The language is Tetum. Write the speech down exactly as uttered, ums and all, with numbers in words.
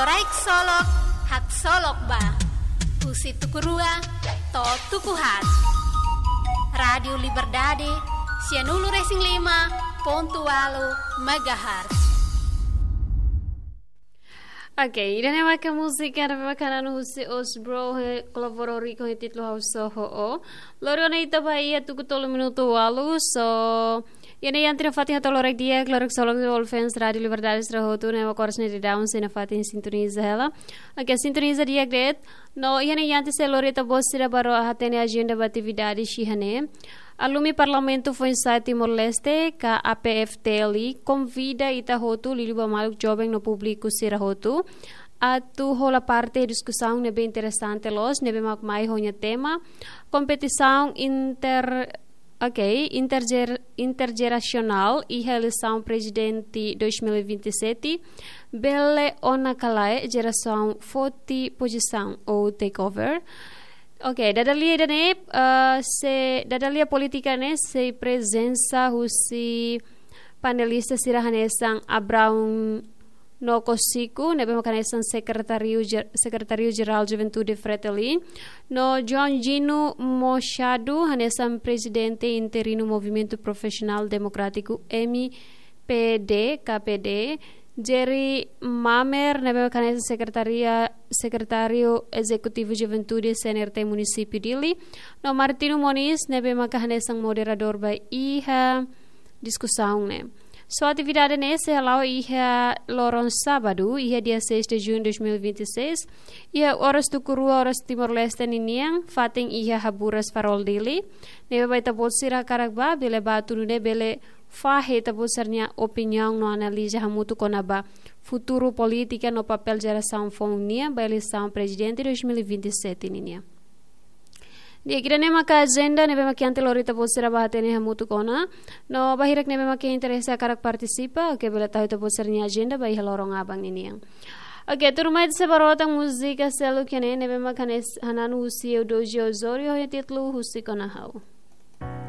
Loraik Solok, Haksolok Ba. Husi tuku rua to'o tuku haat. Rádiu Liberdade, sianulu-resin-lima pontu ualu megahertz. Oke, ida-ne'e maka múzika ne'ebé mak hananu husi Osbro, eh, kolabora ho Rico, ho títulu Ha'u Só Ho'o. Lori ona ita ba iha tuku tolu minutu ualu, so, iha ne'e iha tiha fatin hato'o loraik di'ak, loraik solok, all fans Rádiu Liberdade sira hotu ne'ebé mak oras ne'e daudaun sei nafatin sintoniza hela. Oke, sintoniza di'ak de'it. No iha ne'e iha tiha sei lori ita-boot sira ba ro hatene ajenda ba atividade iha ne'e. Alumi Parlamentu Foinsa'e Timor-Leste, ka A P F T L, konvida ita hotu, liuliu ba maluk joven no públiku sira hotu, atu hola parte diskusaun ne'ebé interesante loos, ne'ebé mak mai ho nia tema kompetisaun inter, oke, interjer-, interjerasionál iha eleisaun prezidente dois mil e vinte e sete, bele ona ka lae jerasaun foti pozisaun ou takeover. Oke, dada lia ida-ne'e, eh, sei, dada lia polítika ne'e sei prezensa husi panelista sira hanesan Abraão Nokosiku, ne'ebé mak hanesan sekretáriu jer-, sekretáriu jerál Juventude Fretilin, no João Gino Machado, hanesan prezidente interinu Movimentu Profisionál Demokrátiku M P D, K P D, Jerry Mamer, ne'ebé mak hanesan sekretaria, sekretáriu ezekutivu Juventude C N R T Munisípiu Dili, no Martino Moniz, ne'ebé mak hanesan moderadór ba iha diskusaun ne'e. So atividade ne'e sei hala'o iha loron sábadu, iha dia seis de junho de dois mil e vinte e seis, iha oras tuku rua oras Timor-Leste ninian, fatin iha Haburas Farol Dili, ne'ebé ba ita-boot sira hakarak ba, bele ba atu nune'e bele fahe ita-boot sira-nia opiniaun no analiza hamutuk kona-ba futuru polítika no papél jerasaun foun nian ba eleisaun prezidente dois mil e vinte e sete ninian. Di'ak, ida-ne'e maka ajenda ne'ebé mak iha tiha lori ita-boot sira ba hatene hamutuk ona. No ba hirak ne'ebé mak iha interese hakarak partisipa, oke, bele tau ita-boot sira-nia ajenda ba iha loron aban ninian. Oke, tuirmai ita sei ba rona tan múzika seluk iha ne'e, ne'ebé mak hanes-, hananu husi Eudoxia Osório, ho títulu Husik Ona Ha'u.